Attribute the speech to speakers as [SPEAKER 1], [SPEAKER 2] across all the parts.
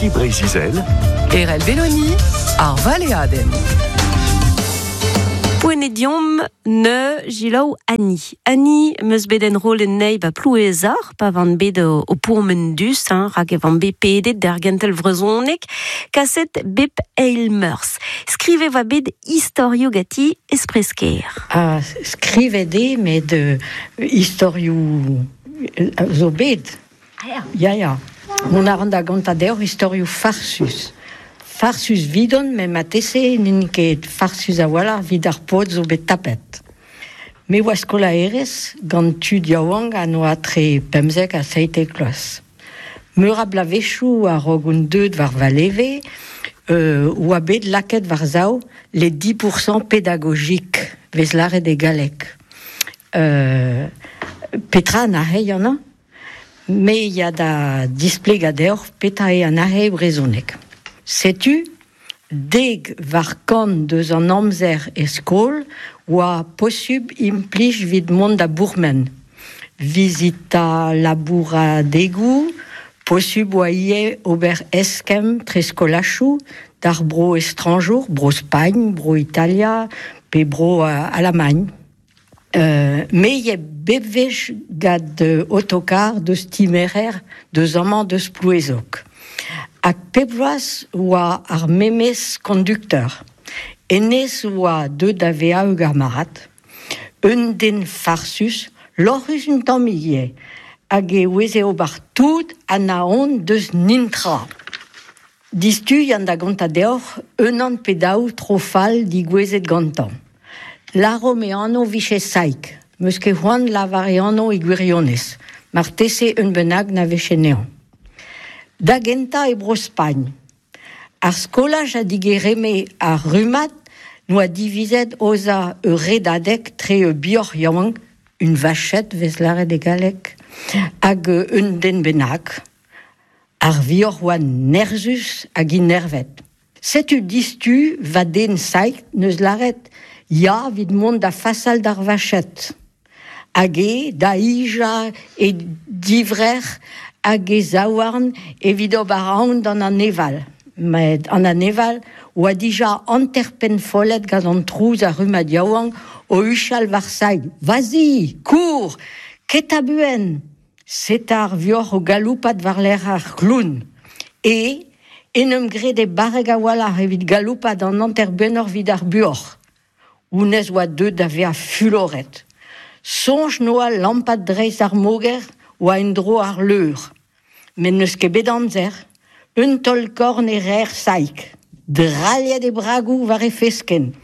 [SPEAKER 1] Ici Breizh-Izel.
[SPEAKER 2] Erell Belloni, ar valeadenn.
[SPEAKER 3] Poent eo deomp ne jilaou Annie. Annie 'm eus bet enrollet anezhi 'ba Plouezoc'h pa van bet o pourmen dus, hein, rak e van bet pedet d'ar gentel vrezhoneg, kaset bep eil meurzh. Skrivet 'oa bet istorioù ganti espresker.
[SPEAKER 4] Ha skrivet eo met istorioù zo bet. Ya, ya. Mont a ran da gontañ deoc'h istorioù farsus. Farsus 'vidon, met marteze n'int ket farsus a-walc'h evit ar paotr zo bet tapet. Me oa skolaerez gant tud yaouank a noa tre 15 ha 17 vloaz. Meur a bloavezhioù a-raok on deuet war va leve oa bet lakaet war-sav les 10% pédagogiques, 'vez lâret e galleg. Petra an arc'heiñ amañ? Me ya da displegañ deoc'h petra eo an arc'heiñ brezhoneg. Setu 10% deus an amzer e skol oa posubl implij evit mont da bourmen. Vizitañ labouradegoù, posubl oa ivez ober eskemm tre skolachoù d'ar bro estrañjour, bro Spagn, bro Italia pe bro Alamagn. Me ya bep wech gant otokar deus Timerer deus amañ deus Plouezoc'h. Hag pep bloaz oa ar memes kondukteur. Hennezh oa deuet da vezañ ur gamarad, un den farsus, lorc'hus un tammig ivez, hag e oueze ober tout ha na on deus nintra. Distuiañ da gontañ deoc'h unan pe daou tro fall digouezhet gantañ. Lâromp e anv 'vije Saig. 'Meus ket c'hoant lavar e anv e gwirionez. Marteze un bennak na veche anezhañ. Da gentañ e Bro-Spagn. Ar skolaj a digereme ar rummad 'noa divizet aozañ ur redadeg tre ur bioc'h yaouank, une vachette 'vez lâret e galleg, hag un den bennak. Ar vioc'h oa nerzhus hag inervet. Setu distu va den Saig 'neus lâret ya evit mont da fasal d'ar vachette. Hag eo da hijañ e divrec'h hag e zaouarn evit ober aon d'an aneval. Met an aneval oa dija hanter-pennfollet gant an trouz ar rummad yaouank o huchal war Saig. Vas-y, kour, keta buan! Seta ar vioc'h o galoupat war-lerc'h ar c'hloun. E en em grede barrek a-walc'h evit galoupat an hanter-bennoc'h evit ar buoc'h. Honnezh oa deuet da vezañ fuloret. Soñj 'noa lampat dreist ar moger oa en-dro ar leur. Met n'eus ket bet amzer. Un taol-korn e reer Saig. Drailhet e bragoù war e feskenn.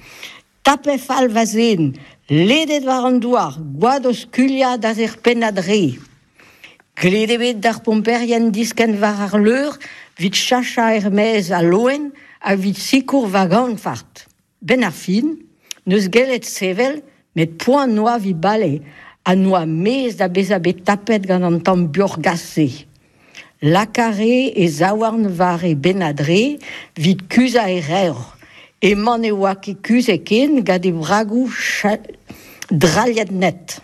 [SPEAKER 4] Tapet fall va zen, ledet war an douar, gwad o skuilhañ da er pennad re. Glet eo bet d'ar pomperien diskenn war ar leur 'vit chachañ er-maez al loen ha 'vit sikour va ganfart. 'Benn ar fin, 'neus gellet sevel, met poan 'noa 'vit bale ha 'noa mezh da bezañ bet tapet gant an tamm buoc'h-gas-se. Laka 'ree e zaouarn war e benn-adre 'vit kuzhañ e revr. Emañ ne oa ket kuzhet ken gant e bragoù drailhet net.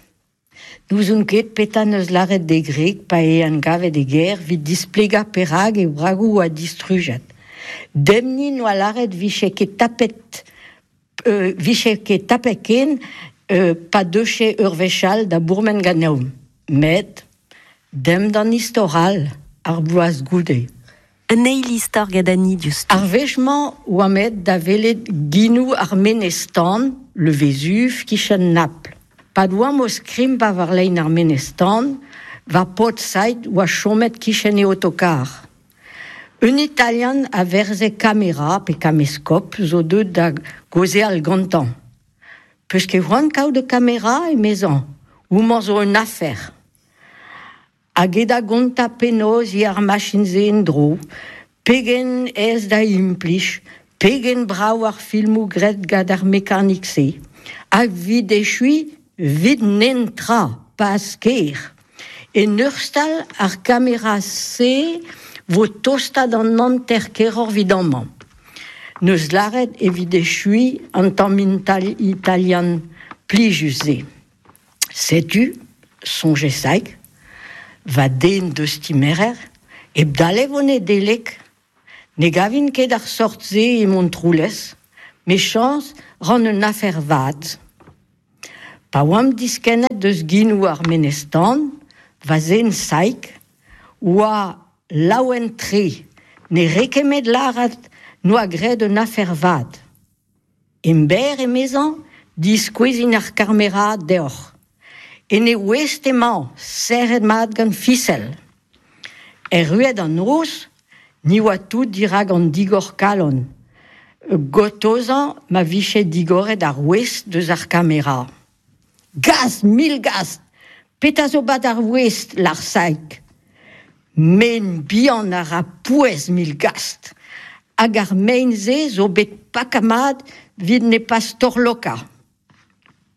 [SPEAKER 4] N'ouzon ket petra 'neus lâret d'e gwreg pa eo en gavet e gêr 'vit displegañ perak e bragoù oa distrujet. Demp-ni 'noa lâret 'vije ket tapet 'vije ket tapet ken pa deuche ur wech all da bourmen ganeomp. Met Demp d'an istor all, ar bloaz goude.
[SPEAKER 3] Un eil istor gant Annie diouzhtu.
[SPEAKER 4] Ar wech-mañ oamp aet da welet ginoù ar menez-tan, le Vésuve, kichen Napl. Pad oamp o skrimpañ war lein ar menez-tan, va paotr Said oa chomet kichen e otokar. Un Italian a verze kamera pe kameskop zo deuet da gaozeal gantañ. Peus ket c'hoant kaout ur kamera, emezañ, homañ zo un afer. Hag eo da gontañ penaos eo ar machin-se en-dro, pegen aes da implij, pegen brav ar filmoù graet gant ar mekanik-se. Hag 'vit echuiñ, 'vit netra, pas ker. En ur stal, ar kamera-se 'vo tostañ d'an hanter keroc'h 'vit amañ. 'Neus lâret evit echuiñ an tamm italian plijus-se. Setu, soñje Saig, va den deus Timerer, hep dale 'vo Nedeleg. Ne gavin ket ar sort-se e Montroulez, me chañs ran un afer vat. Pa oamp diskennet deus ginou ar menez-tan, va zen Saig, oa laouen-tre, ne rekemet lârat n'oa graet un afer vat. Emberr, emezañ, diskouezin ar kamera deoc'h. En e ouest emañ, serret mat gant fisel. Erruet an noz, ni oa tout dirak an digor-kalon, gotozañ ma vije digoret ar ouest deus ar kamera. Gast, mil gast! Petra zo bat ar ouest, lar Saig? Men bihan a ra pouez mil gast! Hag ar mein-se zo bet pakañ mat 'vit ne pas torlokañ.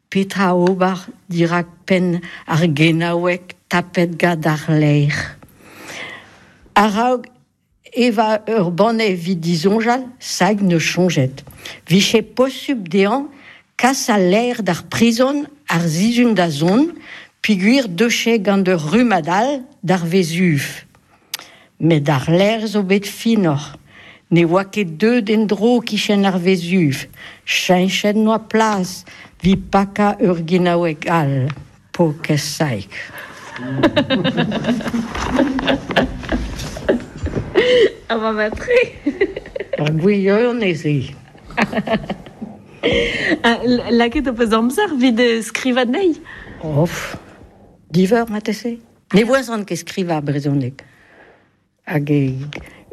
[SPEAKER 4] Petra ober dirak penn ar genaoueg tapet gant ar laer? A-raok evañ ur banne evit disoñjal, Saig 'neus soñjet 'vije posupl dezhañ kas al laer d'ar prizon ar sizhun da zont peogwir 'deuche gant ur rummad all d'ar Vezuv. Met ar laer zo bet finoc'h. Ne oa ket deuet en-dro 'kichen ar Vezuv. Cheñchet 'noa plas 'vit pakañ ur ginaoueg all, paourkaezh Saig.
[SPEAKER 3] A oa mat-tre.
[SPEAKER 4] Ur gwirionez eo.
[SPEAKER 3] Lakaet ho peus amzer evit skrivañ anezhi?
[SPEAKER 4] Of, diveur marteze. Ne voazan ket skrivañ brezhoneg. Hag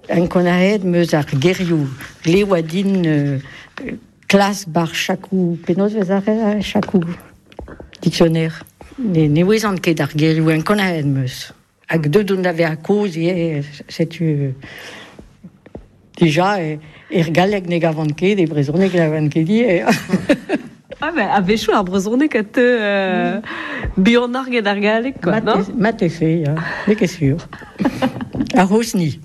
[SPEAKER 4] ankounac'haet 'm eus ar gerioù. Glev oa din klas bar chakoù. Penaos 'vez ar chakoù? Dictionnaire. Ne, ne ouezan ket ar gerioù, ankounac'haet 'm eus. Hag deuet on da vezañ kozh ivez, setu dija er galleg ne gavan ket, e brezhoneg ne gavan ket ivez.
[SPEAKER 3] Ah ben, a-wechoù ar brezhoneg a teu buanoc'h get ar galleg, quoi, non?
[SPEAKER 4] Marteze, ya, n'eo ket sur. Ar c'hozhni.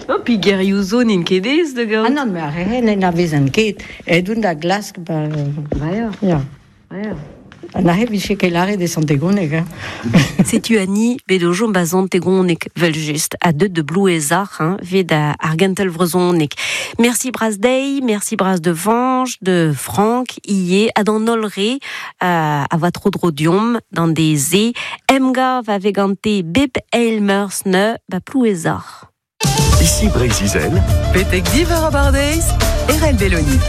[SPEAKER 3] Non, puis gerioù zo n'int ket aes da gaout.
[SPEAKER 4] Ah non, mais ar re n'anavezan ket. Aet on da glask ba...
[SPEAKER 3] Ya.
[SPEAKER 4] Ya. An aze vije ket lâret e Sant-Egoneg. Hein.
[SPEAKER 3] Setu Annie, bet o chom ba Sant-Egoneg, vel-just, ha deut de Blouezoc'h, hein, 'vit ar gentel vrezhoneg. Merci bras dezhi, merci bras de Fañch, de Frank ivez, ha d'an holl re a oa tro-dro deomp d'an deiz-se. Emgav a vez gante bep eil meurzh neu ba Plouezoc'h.
[SPEAKER 1] Ici Breizh-Izel.
[SPEAKER 2] Betek div eur abardaez, Erel Belloni.